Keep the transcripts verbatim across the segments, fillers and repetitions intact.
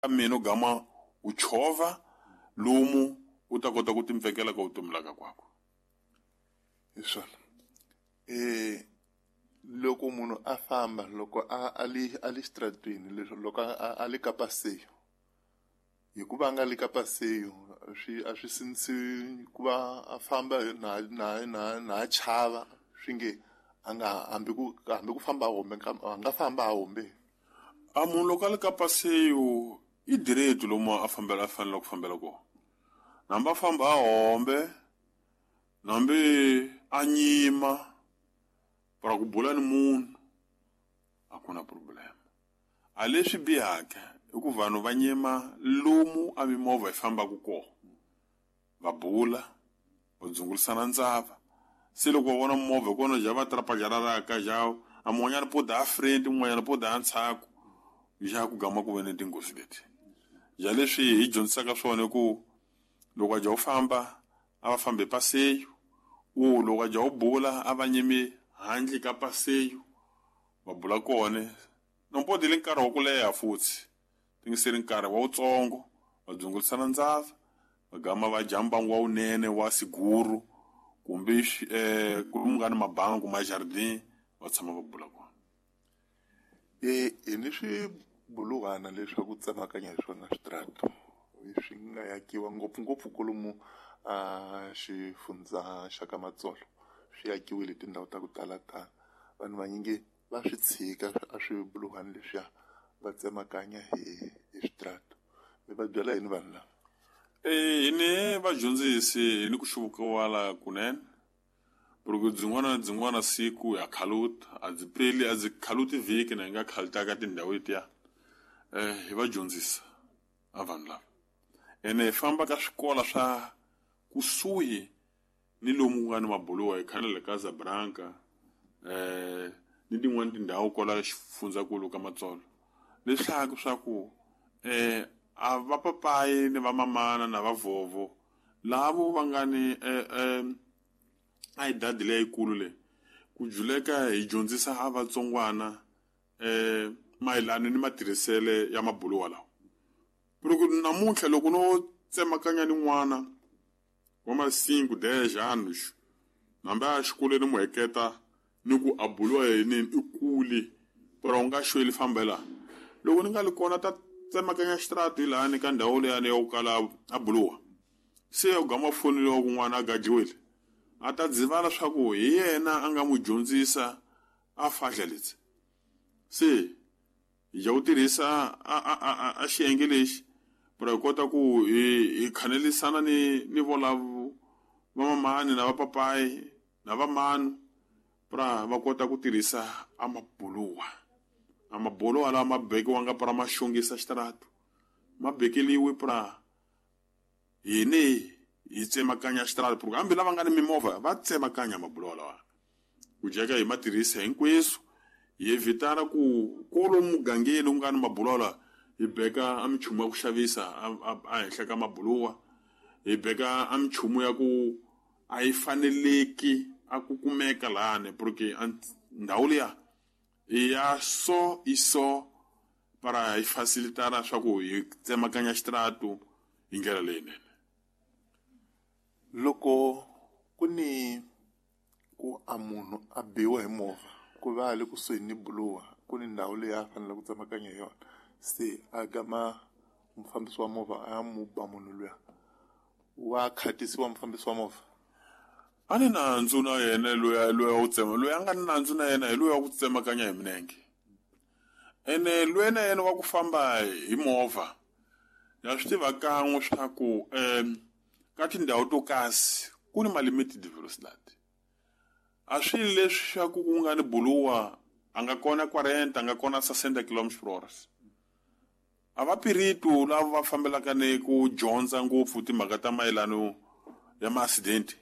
Mina u gama u chovha lomu u ta kota ku timpfekela ka vutomi laka kwakwe. Hi swona. Eh loko munhu a famba loko a a li a li xitaratini leswi loko a a li ka paseyo, hikuva a nga le ka paseyo swi a swi sindzisi ku va a famba na na na na chava swi nge a nga hambi ku hambi ku famba a hombe a nga famba a hombe. A munhu loko a le ka paseyo i direct lomu a fambela a fanele ku fambela kona. Hambi a famba a hombe, hambi a nyima para ku bula ni munhu a ku na problem. A leswi bihaka i ku vanhu va nyima lomu a mimovha yi fambaka kona, va bula, va dzungulisana ndzava. Se loko va vona movha hi kona ja va trapajararaka ja a mun'wanyana po da front, mun'wanyana po da ndzhaku, ja ku gama ku ve ni tinghozi leti. Ja leswi hi dyondzisaka swona i ku loko a ja u famba a va fambi hi paseyo, u loko a ja u bula a va nyimi handle ka paseyo va bula kona. Nompodo le nkarhi wa ku leha futhi tingiseri nkarhi wa wutsongo va dzungulisana ndzava, va gama va dya mbangu wa wunene wa siguru kumbe eh ku nga ni mabangu ma jardin va tshama va bula kona. Eh hi ni swibuluhwana leswaku tsemakanya hi swona switarata swi nga yakiwa ngopfungopfu kwalomu a xifundza xa ka Matsolo, swi yakiwile tindhawu ta ku tala tala. Vanhu vanyingi va swi tshika a swibuluhwana leswiya va tsemakanya hi hi switarata. Mi va byela yini vanhu lava? Eh hi ni vadyondzisi hi ni ku xuvukiwala kunene. Porque byin'wana na byin'wana siku ya khaluta, a byi peli a byi khaluti vhiki na hi nga khalutaka tindhawu letiya. Eh hi va dyondzisa a vanhu lava. Ene hi famba ka swikolo swa kusuhi ni lomu ku nga ni mabuluwa hi khale le ka Zabranka eh ni tin'wani tindhawu kwala xifundzankulu ka Matsolo. Leswaku swa ku eh a va papayi ni va mamana na va vhovho lavo va nga ni eh eh a hi dadi leyikulu leyi ku juleka hi dyondzisa a vatsongwana eh mayelana ni matirhisele ya mabuluwa lawa. Loko namuntlha loko no tsemakanya ni n'wana wa ma-cinco dez anos hambi a ya xikolweni mu heketa ni ku a buluwa yini i kule pero u nga xweli fambela. Loko ni nga li kona ta tsemakanya xitarata hi lahani ka ndhawu leyani ya ku kala a buluwa, se u gama foneliwa ku n'wana a gajiwile, a ta dzivala swa ku hi yena a nga n'wi dyondzisa a fahla leti. Se hi ja ku tirhisa a a a a xiyenge lexi para hi kota ku hi hi khanelisana ni ni volavo va mamani na va papayi na va manu para va kota ku tirhisa a mabuluwa. A mabuluwa lawa ma bekiwanga para ma xongisa xitarata, ma bekeliwe para hini hi tsemakanya xitarata, porque hambi lava nga ni mimovha va tsemakanya mabuluwa lawa. Ku jeka hi ma tirhisa hinkweswo hi evitana ku kwalomu mugangeni ku nga ni mabuluwa lawa hi beka a minchumu ya ku xavisa a henhla ka mabuluwa, hi beka a minchumu ya ku a yi faneleki a ku kumeka lahani, porque ndhawu liya i ya so i so para hi facilitana swa ku hi tsemakanya xitarata hi ndlela leyinene. Loko ku ni ku a munhu a biwa hi movha ku va a le kusuhi ni buluwa ku ni ndhawu leyi a faneleke ku tsemakanya hi yona, se a gama mufambisi wa movha a ya mu ba munhu luya, wa khatisiwa mufambisi wa movha? A ni nandzu na yena loyi loyi wa ku tsema, loyi a nga ni nandzu na yena hi loyi wa ku tsemakanya hi milenge. Ene loyi na yena wa ku famba hi movha ya swi tiva kan'we swa ku um ka tindhawu to kasi ku ni ma-limited velocity. A swi leswi swa ku ku nga ni buluwa a nga kona quarenta, a nga kona sessenta kilometers per hour. A va piritu lava va fambelaka ni ku dyondza ngopfu timhaka ta mayelano ya ma-accident,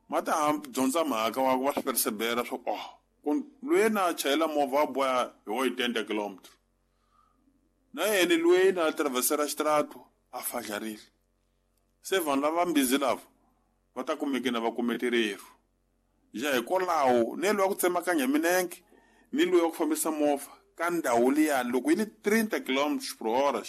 ma ta dyondza mhaka wa va swi persevera swa ku oh loyi na chayela movha wa boha hi oitenta kilometers, na yena loyi na traversera xitarata a fadlarile. Se vanhu lava mbizi lava va ta kumeke na va kumetererhu. Ja hikwalaho ni loyi wa ku tsemakanya milenge ni loyi wa ku fambisa movha ka ndhawu liyani loko yi li trinta kilometers per hour